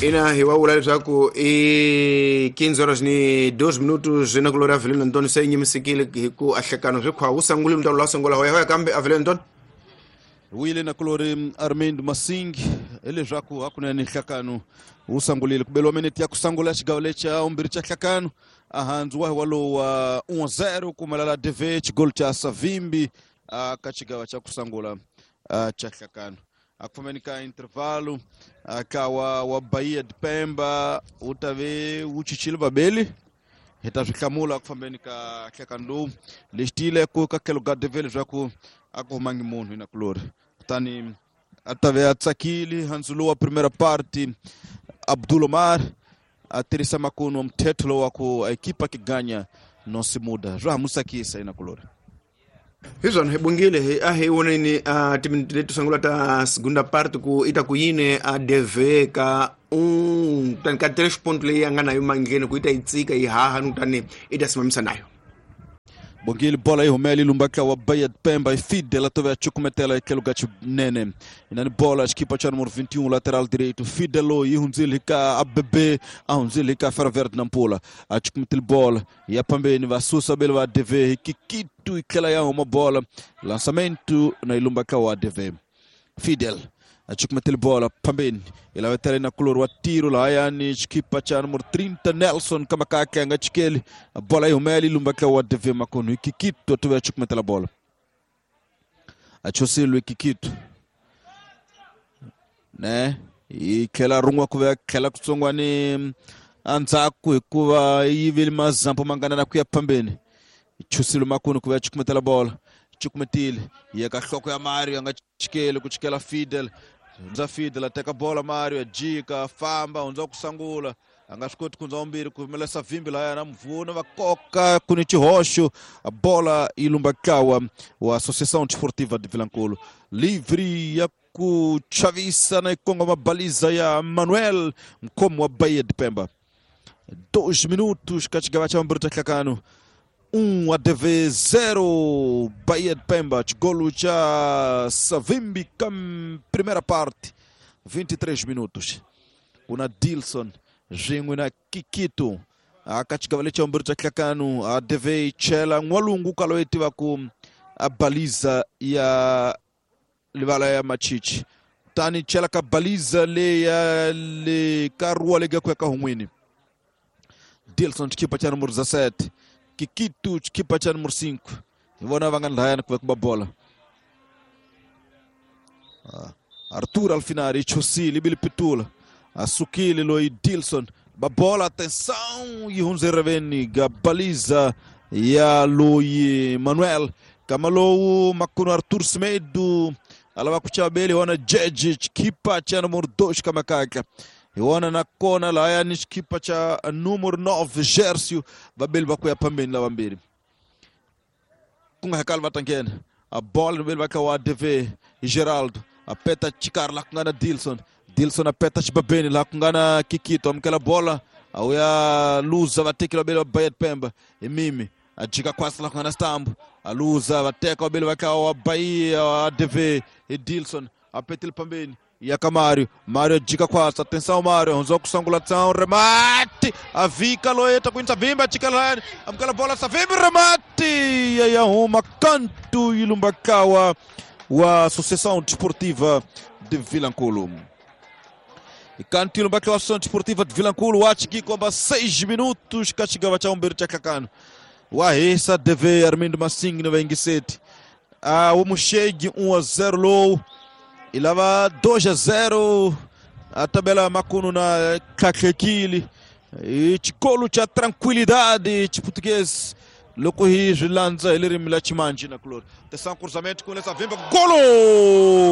Ina hi wa vula leswaku i 15 horas ni 2 minutos na kulori Avelino Antônio se nyimisekile hi ku ahlekano swi khwa wu sangulile mutalo la sungula hoya hoya kambe Avelino Antônio. Wile na kulori Armindo Masingi hileswaku hakunene nhlakano wu sangulile ku beliwa minete ya ku sangula xigawo lexa vumbirhi xa nhlakano ahandzu wa hi walowu wa 1-0 kumelela DV xigolo xa Savimbi ka xigawa xa ku sangula xa nhlakano. Akufambeni ka intervalo ka wa Bahia de Pemba wu ta ve wu chichile vabeli hi ta swi hlamula ku fambeni ka nhlekani lowu lexi tiyile ku ka tlhelo ka DV leswaku a ku humangi munhu hi nakulori kutani a ta ve a tsakile handzu lowu wa primera parte Abdul Omar a tirhisa makunu wa mthetho lowu wa ku a ekipa ki ganya no se muda swa ha mu tsakisa hi nakulori. Hi swona hi bungile hi a hi voneni a timinete leti sungula ta segunda parte ku i ta ku yini a DV ka un kutani ka 3 point leyi a nga nayo mangheni ku yi ta yi tsika yi haha ni kutani i ta simamisa nayo. Bongile bola yi humela yi lumba wa Bahia de Pemba yi Fidel a tove a cukumetela hi tlhelo ka xinene inani bola xikipa xa numero 21 lateral direito Fidel loyi yi hundzile hi ka ABB a hundzile hi ka Ferro Verde na Mpula a cukumetile bola ya phambeni va susa bele va DV hi Kikitu yi tlhela ya huma bola lançamento na yi lumba wa DV Fidel a cukumetile bola phambeni yi lavetela na kulori wa tiro lahayani xikipa xa numero 30 Nelson Kamakake a nga chikeli bola yi humela yi lumba wa DV makonu hi Kikitu a tove a cukumetela bola a chosile Kikitu ne yi tlhela rin'we ku ve tlhela kutsongwani endzhaku hikuva yi vile mazampo mangana na ku ya phambeni chusile makunu ku ve a cukumetela bola cukumetile yi ya ka nhloko ya Mario a nga chikeli ku chikela Fidel hundza Fidel a teka bola Mario a jika a famba hundza ku sangula a nga swi koti ku hundza vumbirhi ku humelela Savimbi lahaya na Mvuna va koka ku ni xihoxo bola yi lumba ntlawa wa Associação Desportiva de Vilankulu livre ya ku chavisa na yi kongoma baliza ya Manuel mkhomi wa Bahia de Pemba. 2 minutos ka xigava xa vumbirhi xa nhlakano 1 ADV 0 Bahia de Pemba xigolo xa Savimbi ka primeira parte 23 minutos kuna Dilson swin'we na Kikito aka xigava lexa vumbirhi xa nhlakano ADV yi chela n'walungu ka loyi tivaku a baliza ya livala ya Machichi kutani chela ka baliza leya le ka ruwa leyi ku ya ka hun'wini Dilson xikipa xa numero 17 Kikitu xikipa xa numero 5 hi vona va nga lahayani ku va ku ba bola. Arthur Alfinari chosile ibili pitula asukile loyi Dilson ba bola atenção yi hundze reveni ga baliza ya loyi Manuel kama lowu makunu Arthur Semedo alava ku chaveli wana Jeje xikipa xa numero 2 kamakaka hi wona na kona lahayani xikipa xa numero 9 Gercio vabeli va ku ya phambeni lavambirhi ku nga hakali va ta nghena a bola vabeli va kha wa DV Geraldo a peta xikarhi laha ku nga na Dilson Dilson a peta xibabeni laha ku nga na Kikito amukela bola a wu ya luza vateki vabeli va Bahia de Pemba hi Mimi a jika kwasi laha ku nga na Stambo a luza va teka vabeli va kha wa Bahia wa DV hi Dilson a petile phambeni ya ka Mario Mario jika kwasa atenção Mario hundzwa ku sungula tsan remate a vika loyi ta ku yinisa Vimbi a chika lahayani amukela bola Savimbi remate ya ya huma kantu yi lumba kawa wa Associação Desportiva de Vilankulu. Kantu yi lumba kawa Associação Desportiva de Vilankulu wa chikikomba 6 minutos ka xigava xa vumbirhi xa nhlakano wa hisa DV Armindo Masingi na vayingiseti a wu muxegi 1-0 lowu i lava 2-0 a tabela makunu na tlhatlhekile i xikolo xa tranquilidade xiputukezi loko hi swi landza hi ririmi la ximanji na kulori atenção cruzamento com Savimbi golo.